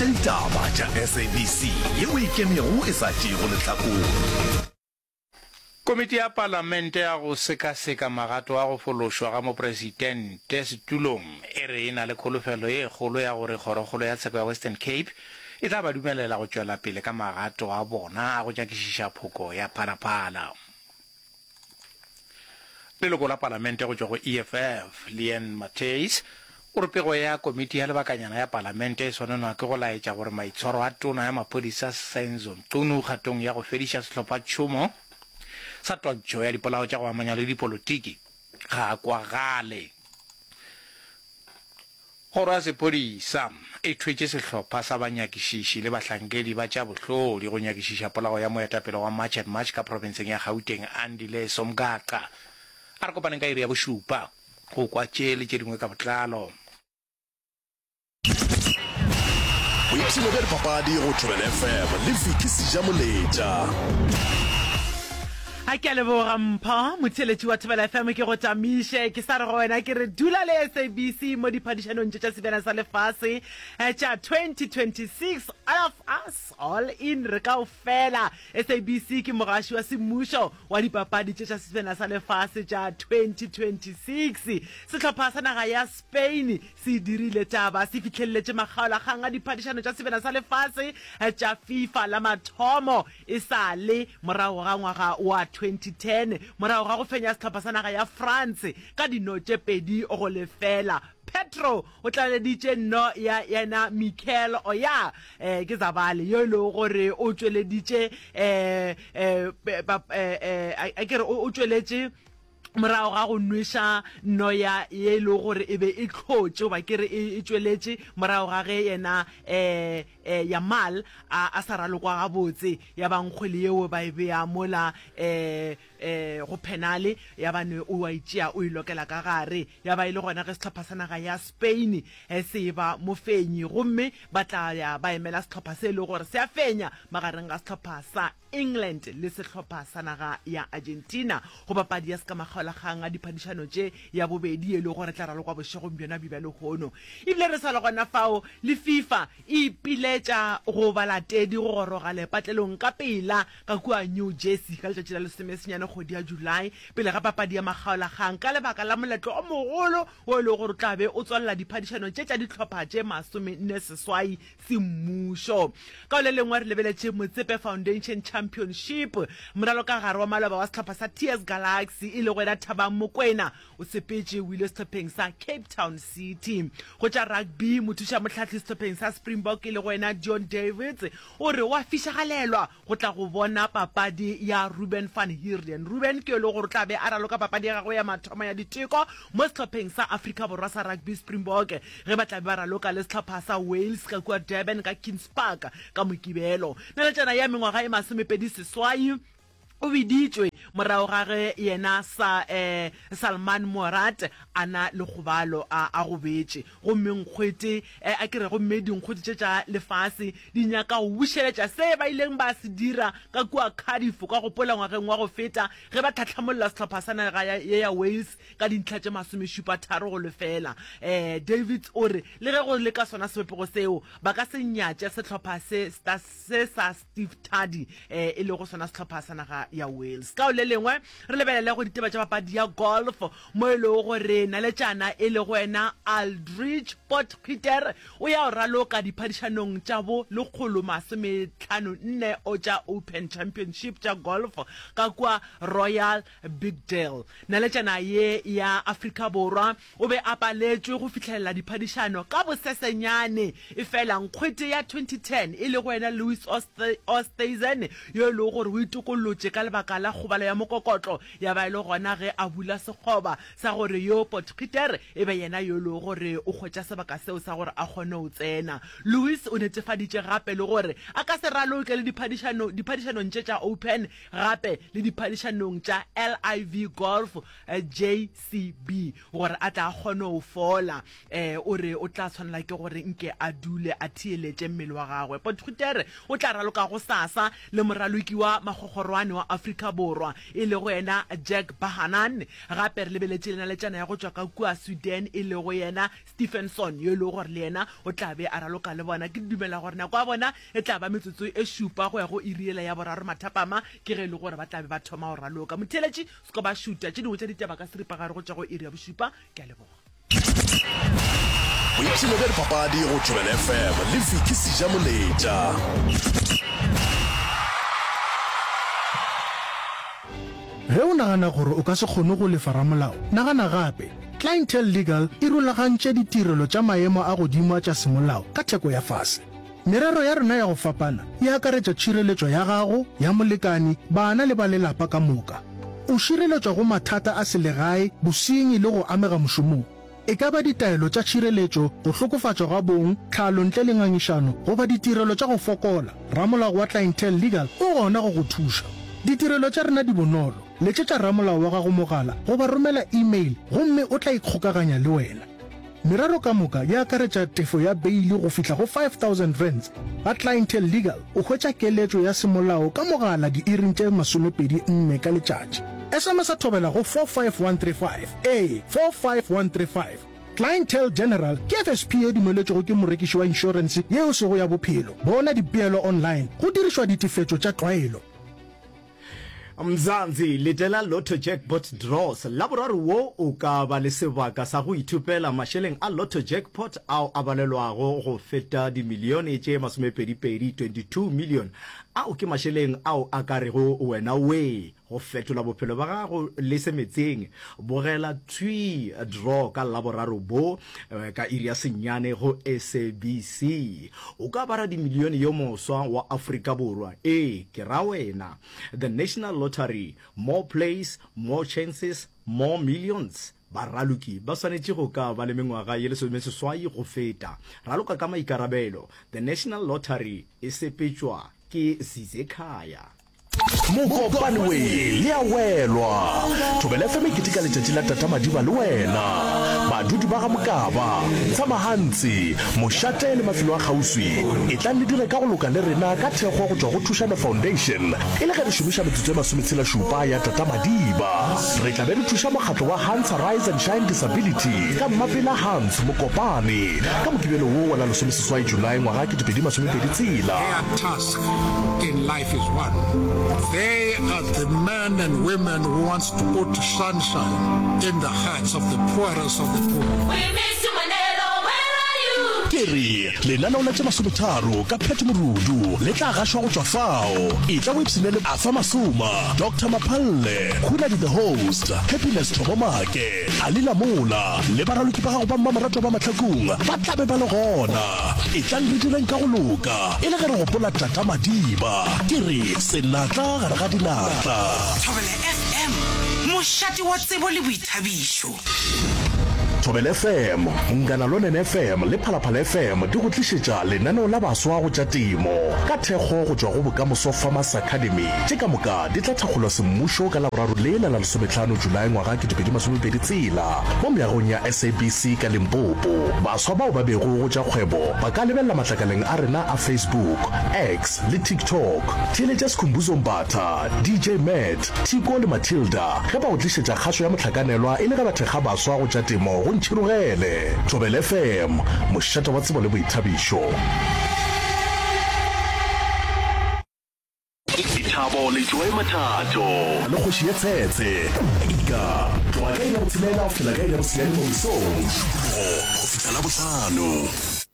Ditaba tša SABC yeo e ikemego e sa tšeego lehlakore. Komiti ya Palamente ya go sekaseka magato a go fološwa ga mopresidente setulong e re e na le kholofelo ye kgolo ya gore Kgorokgolo ya Tsheko ya Western Cape e tla ba dumelela go tšwela pele ka magato a bona a go nyakišiša phoko ya Phalaphala. Leloko la Palamente go tšwa go EFF, Leanne Matthys, o re pego ya komiti ya lebakanyana ya Palamente e swanelwa ke go laetša gore maitshwaro a tona ya maphodisa Senzo Mchunu kgatong ya go fediša sehlophatšhomo sa twantšho ya dipolao tša go amanya le dipolotiki ga a kwagale. Kgoro ya Sephodisa e thwetše sehlopha sa banyakišiši le bahlankedi ba tša bohlodi go nyakišiša polao ya moetapele wa March and March ka profenseng ya Gauteng, Andile Somgaqa. A re kopaneng ka iri ya bošupa go kwa tše le tše dingwe ka botlalo. Boipshino bja dipapadi go Thobela FM le Vicky Sejamoletša. A ke a leboga Mpho, motheeletši wa Thobela FM ke go tamiše. Ke sa re go wena ke re dula le SABC mo diphadišanong tše tša Sebjana sa Lefase eh, tša 2026. All of us, all in, re kaofela. SABC ke mogaši wa semmušo wa dipapadi tše tša Sebjana sa Lefase tša 2026. Sehlopha sa naga ya Spain se dirile taba, se fihleletše makgaolakgang a diphadišano tša Sebjana sa Lefase eh, tša FIFA la mathomo E sa le morago ga ngwaga wa 2010, morago ga go fenya sehlopha sa naga ya France ka dino tše 2-0, Pedro o tlaleleditše nno ya yena Mikel Oya eh, ke Zabale yo e lego gore o tšweleditše eh, eh, eh, a ke re o tšweletše morago ga go nweša noya ye e lego gore e be e hlotše goba ke re e, e tšweletše morago ga ge yena um um Yamal a, a sa ralokwa gabotse, ya ba nkgwele yeo ba e bea mola um um go phenale, ya ba ne o a e tšea o e lokela ka gare, ya ba e le gona ge sehlopha sa naga ya Spain se e ba mofenyi gomme ba tla ya ba emela sehlopha se e lego gore se a fenya magareng ga sehlopha sa England le sehlopha sa naga ya Argentina go papadi ya sekamakgaolakgang a diphadišano tše ya bobedi ye e lego gore tla ralokwa bošegong bjona bjo bja lehono. Ebile re sa le gona fao le FIFA e ipiletša go balatedi go goroga lepatlelong ka pela ka kua New Jersey ka letšatši la lesomesenyane kgwedi ya July pele ga papadi ya makgaolakgang ka lebaka la moletlo o mogolo wo e lego gore o tla be o tswalela diphadišano tše tša dihlopha tše 48 semmušo. Ka go le lengwe re lebeletše Motsepe Foundation Championship. Moralokagare wa maloba wa sehlopha sa TS Galaxy e lego yena Thabang Mokoena o sepetše o ile sehlopheng sa Cape Town City. Go tša rugby, mothušamohlahli sehlopheng sa Springbok e lego yena Dion Davids o re o a fišagalelwa go tla go bona papadi ya Ruben van Heerden. Ruben ke yo e lego gore o tla be a raloka papadi ya gagwe ya mathomo ya diteko mo sehlopheng sa Afrika Borwa sa rugby Springbok ge ba tla be ba raloka le sehlopha sa Wales ka kua Durban ka Kings Park ka Mokibelo. Naletšana ya mengwaga e 28 o biditšwe morago ga ge yena sa eh, Salman Moerat a na le kgobalo a a gobetše. Gomme nkgwete, eh, a ke re, gomme dinkgwete tše tša lefase di nyaka go bušeletša se ba ileng ba se dira ka kua Cardiff, ka gopola ngwageng wa go feta ge ba tlhahlamolla sehlopha sa naga ya, ye ya Wales ka dintlha tše masomešupa tharo go lefela. Eh, Davids o re le ge go le ka sona sebopego seo, ba ka se nyatše sehlopha se, se sa Steve Tardy, eh, e lego sona sehlopha sa naga ya Wales. Ka go le lengwe, re lebelele go ditaba tša papadi ya golf, mo e lego gore naletšana e lego yena Aldrich Potgieter o ya go raloka diphadišanong tša bo 154 o tša Open Championship tša golf ka kua Royal Birkdale. Naletšana ye ya Afrika Borwa O be a paletšwe go fihlelela diphadišano ka bosesenyane, efela nkgwete ya 2010 e lego yena Louis Oosthuizen, yo e lego gore o itokollotše ka lebaka la kgobalo ya mokokotlo, ya ba e le gona ge a bula sekgoba sa gore yo Potgieter e be yena yo e lego gore o hwetša sebaka seo sa gore a kgone go tsena. Louis o netefaditše gape le gore a ka se raloke le diphadišanong tše tša Open gape le diphadišanong tša LIV Golf JCB gore a tla a kgone go fola. Um o re o tla tshwanela ke gore nke a dule a theeletše mmele wa gagwe. Potgieter o tla raloka gosasa le moraloki wa makgokgorwane wa. Afrika Borwa e lego yena Jack Bahanan. Gape re lebeletše le naletšana ya go tšwa ka kua Sweden e lego yena Stephenson yo e lego gore le yena o tla be a raloka le bona. Ke dumela gore nako ya bona e tla ba metsotso e šupa go ya go iri yela ya boraro mathapama, ke ge e le gore ba tla be ba thoma go raloka. Motheeletši, se ko ba šuta tše dingwe tša ditaba ka seripagare go tšwa go iri ya bošupa. Ke a leboga. Boipshino bja dipapadi go Thobela FM le Vicky Sejamoletša. Ge o nagana gore o ka se kgone go lefa ramolao, nagana gape. Clientele Legal e rulagantše ditirelo tša maemo a godimo a tša semolao ka theko ya fase. Merero ya rena ya go fapana e akaretša tšhireletšo ya gago, ya molekani, bana le ba lelapa ka moka. O šireletšwa go mathata a selegae, bosenyi le go amega mošomong. E ka ba ditaelo tša tšhireletšo, go hlokofatšwa ga bong, tlhalo ntle le ngangišano goba ditirelo tša go fokola, ramolao wa Clientele Legal o gona go go thuša. Ditirelo tša rena di bonolo, letšetša ramolao wa gago mogala goba romela email gomme o tla ikgokaganya le wena. Merero ka moka e akaretša tefo ya beili go fihla go R5000. Ga Clientele Legal o hwetša keletšo ya semolao ka mogala diiring tše 24 ka letšatši. SMS-a thobela go 45135. Ee, 45135. Clientele General ke FSP ye dumeletšwego ke morekiši wa inšorense ye e sego ya bophelo. Bona dipeelo online go dirišwa ditefetšo tša tlwaelo. Mzansi, letela Lotto Jackpot Draws. Laboraro wo o ka ba le sebaka sa go ithopela mašeleng a Lotto Jackpot ao a balelwago go feta dimilione tše masomepedipedi, 22 million. Ao ke mašeleng ao a ka rego wena wee go fetola bophelo bja gago le semetseng. Bogela thwii draw ka Laboraro bo ka iri ya senyane go SABC. O ka ba radimilione yo moswa wa Afrika Borwa. Ee, ke ra wena. The National Lottery, More plays, more chances, more millions. Baraloki ba swanetše go ka ba le mengwaga ye lesomeseswai go feta. Raloka ka maikarabelo. The National Lottery e sepetšwa ke Zizekhaya. Mokopane we le a welwa. Thobela FM e keteka letšatši la Tata Madiba le wena. Badudi ba ga Mokaba, Tshamahantsi, Mošate le mafelo a kgauswi, etlang le dire ka go loka le rena ka thekgo go tšwa go Thušano Foundation e le ge re šomiša metsotso e masometshela-šupa ya Tata Madiba. Re tla be re thuša mokgatlo wa Hans Rise and Shine Disability ka Mmapela Hans Mokopane ka Mokibelo wo wa la lesomeseswai Julae ngwaga 2026. Their task in life is one. They are the men and women who wants to put sunshine in the hearts of the poorest of the poor. We miss you Manelo, where are you? Ke re, lenaneo la tše masometharo ka Pat Morudu le tla gašwa go tšwa fao. Etla o ipshine le Arthur Masoma, Doctor Maphalle, Khunadi the Host, Happiness Thobomake, Ali Lamola le baraloki ba gago ba mmamoratwa ba Mahlakung ba tla be ba le gona. Etlang re direng ka go loka e le ge re gopola Tata Madiba. Ke re senatla gare ga dinatla. Thobela FM, mošate wa tsebo le boithabišo. Thobela FM, Munghana Lonene FM le Phalaphala FM di go tlišetša lenaneo la baswa go tša temo ka thekgo go tšwa go Bokamoso Farmers Academy. Tše ka moka di tla thakgolwa semmušo ka Laboraro le la la lesometlhano Julae ngwaga 2020 tshela mo meagong ya SABC ka Limpopo. Baswa bao ba bego go tša kgwebo ba ka lebelela matlakaleng a rena a Facebook, X le TikTok. Theeletša Skhumbuzo Mbatha, DJ Matt, Thiko le Matilda ge ba go tlišetša kgašo ya mohlakanelwa e le ge ba thekga baswa go tša temo go Ntšhirogele. Thobela FM, mošate wa tsebo le boithabišo. Lethabo le Joy Mathato. Le kgoši ye tshetse. Ika. Tloga ka iri ya botshelela go fihlela ka iri ya bosenyane mo mesong. Mošupologo go fihla Labohlano.